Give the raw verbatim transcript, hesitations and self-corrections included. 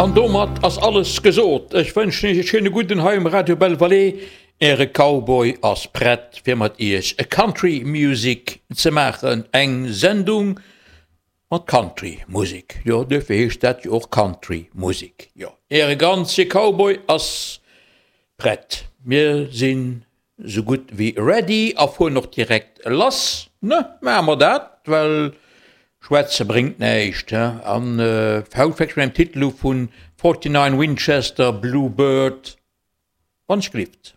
An domat ass alles gesot. Ech wënschen iech e schéine gudden hei um Radio Belle Vallée. Äre Cowboy ass prett fir mat iech e Country Music ze maachen. Eng Sendung mat Country Musek. Jo, duerfir heescht dat jo och Country Musek. Jo, äre ganze Cowboy ass prett. Mir sinn sou gutt wéi ready a fueren och direkt lass, ne? Maache mer dat, well schwätze bréngt näischt, he? An haut fänke ech mat engem Titel u vun Forty Nine Winchester, Blue Bird, wann ech gelift.